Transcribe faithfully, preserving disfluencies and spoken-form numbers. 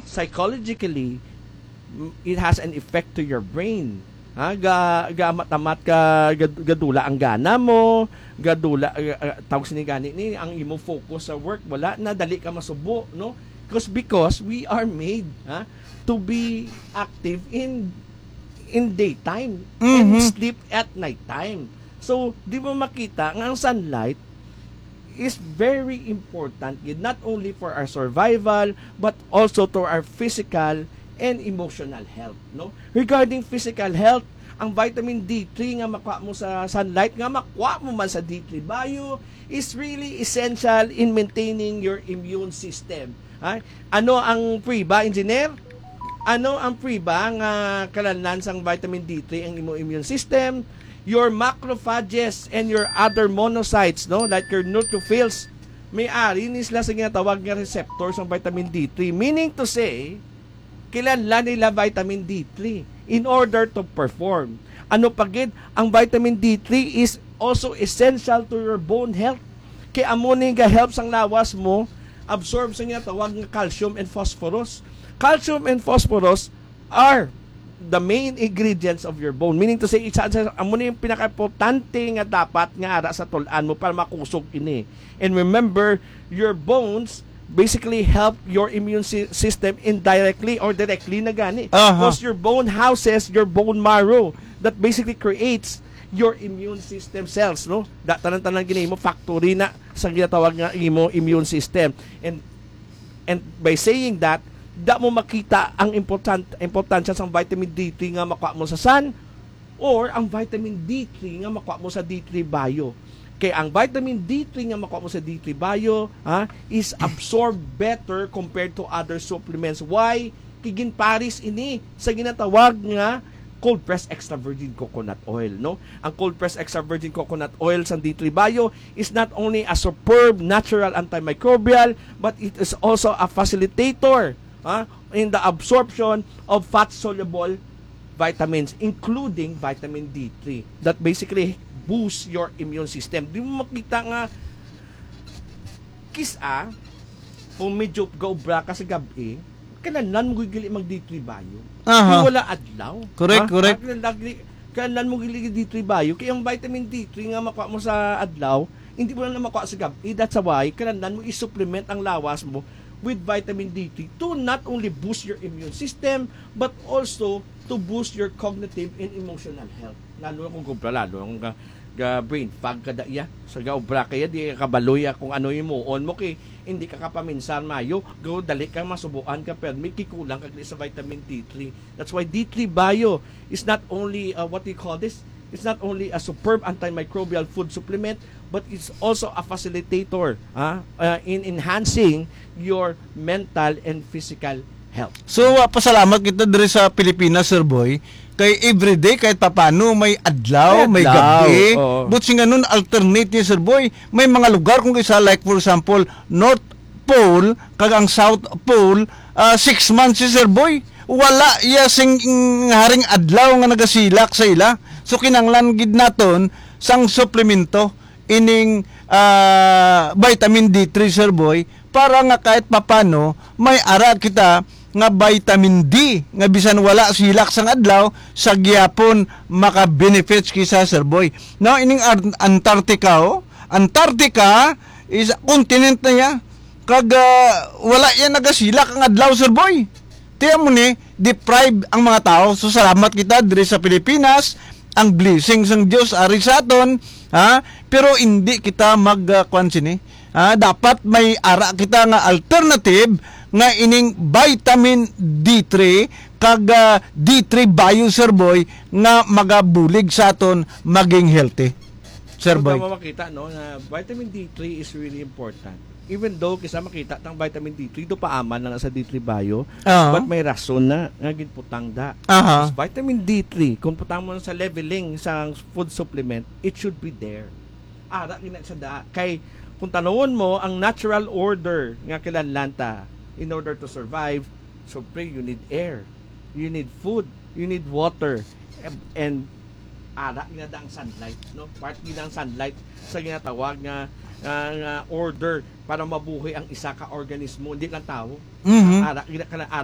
psychologically, m- it has an effect to your brain. Ha, ga, ga matamat ka, ga, gadula ang gana mo, gadula, uh, uh, tawag sini gani ni, ang imo focus sa work, wala na, dali ka masubo, no? Because, because we are made, ha, to be active in in daytime and Mhm. sleep at nighttime. So, di mo makita nga ang sunlight is very important gid, not only for our survival but also to our physical and emotional health, no? Regarding physical health, ang vitamin D three nga makuha mo sa sunlight, nga makuha mo man sa D three Bio, is really essential in maintaining your immune system. Ha? Ano ang prueba, engineer? Ano ang prueba nga kalanlan sang vitamin D three ang imo immune system? Your macrophages and your other monocytes, no, like your neutrophils, may ari ni sila sa ginatawag nga receptor sang vitamin D three. Meaning to say, kinahanglan nila vitamin D three in order to perform. Ano pa gid, ang vitamin D three is also essential to your bone health. Kay amo ni ga-help sang lawas mo absorb sa ginatawag nga calcium and phosphorus. Calcium and phosphorus are the main ingredients of your bone. Meaning to say, isa sa amo ni yung pinakaimportante nga dapat nga ara sa tulan mo para makusog ini. And remember, your bones basically help your immune sy- system indirectly or directly na gani. Aha. Because your bone houses your bone marrow that basically creates your immune system cells, no? Da tanan-tanan gini mo factory na sa ginatawag nga imo immune system. And and by saying that, da mo makita ang important importansya sang vitamin D three nga makuha mo sa sun, or ang vitamin D three nga makuha mo sa D three Bio. Kay ang vitamin D three nga makuha mo sa D three Bio, ha, is absorbed better compared to other supplements. Why? Kay ginpares ini sa ginatawag nga cold press extra virgin coconut oil, no? Ang cold press extra virgin coconut oil sa D three Bio is not only a superb natural antimicrobial, but it is also a facilitator, ha, in the absorption of fat soluble vitamins, including vitamin D three, that basically boosts your immune system. Di mo makita nga kis-a kung medyo gaobra ka sa gab-i, kinahanglan mo gid gali mag D three Bio. Aha. Kung wala adlaw. Correct, ha? Correct. Kinahanglan, kinahanglan mo gali D three Bio. Kaya ang vitamin D three nga makuha mo sa adlaw, hindi mo na makuha sa gab-i. That's why, kinahanglan mo i-supplement ang lawas mo with vitamin D three to not only boost your immune system, but also to boost your cognitive and emotional health. Lalo na kung gaobra, lalo ang ga, ga brain fog ka da iya. Sa gaobra kaya, di ka kabalo ya kung ano himuon mo kay hindi ka kapaminsar mayo. Go, dali ka masubuan ka, pero may kikulang ka sa vitamin D three. That's why D three Bio is not only, uh, what do you call this? It's not only a superb antimicrobial food supplement, but it's also a facilitator, ah, uh, in enhancing your mental and physical health. So, uh, pasalamat kita diri sa Pilipinas, Sir Boy. Kay everyday, kahit papano, may adlaw, May may adlaw, gabi. Oo. But singanon, alternate ni Sir Boy. May mga lugar, kung isa, like for example, North Pole, kag ang South Pole, ah, six months si Sir Boy. Wala iya sing haring adlaw nga nagasilak sa ila. So, kinanglan gid naton sang suplemento ining, ah, vitamin D three, Sir Boy, para nga kahit papano may ara kita nga vitamin D nga bisan wala silak sang adlaw, sa gihapon maka-benefits kita, Sir Boy. Now, ining Ar-, Antarctica, oh. Antarctica is continent na iya. Kag, ah, wala yan nagasilak ang adlaw, Sir Boy. Tiyan mo ni, deprive ang mga tao. So, salamat kita diri sa Pilipinas. Ang blessing sang Dios ari sa aton, ha? Pero hindi kita mag, ah, kwan sini. Ha? Dapat may ara kita nga alternative nga ining vitamin D three kag, ah, D three Bio, Sir Boy, nga magabulig sa aton maging healthy. Sir Boy. Kung tama makita, no, na vitamin D three is really important. Even though kisa makita tang vitamin D three, do paaman lang sa D three Bio, Ah. but may rason na nga ginputang da. Aha. Is vitamin D three, kung putang mo sa leveling sa food supplement, it should be there. Ara gina sa da. Kay kung tanawon mo ang natural order nga kinahanglan ta in order to survive, syempre you need air, you need food, you need water, and, and ara gina da ang sunlight, no? Part gina ang sunlight sa ginatawag nga, nga, nga order para mabuhi ang isa ka organismo, hindi lang tao. Mhm. Ara gina ka na, ara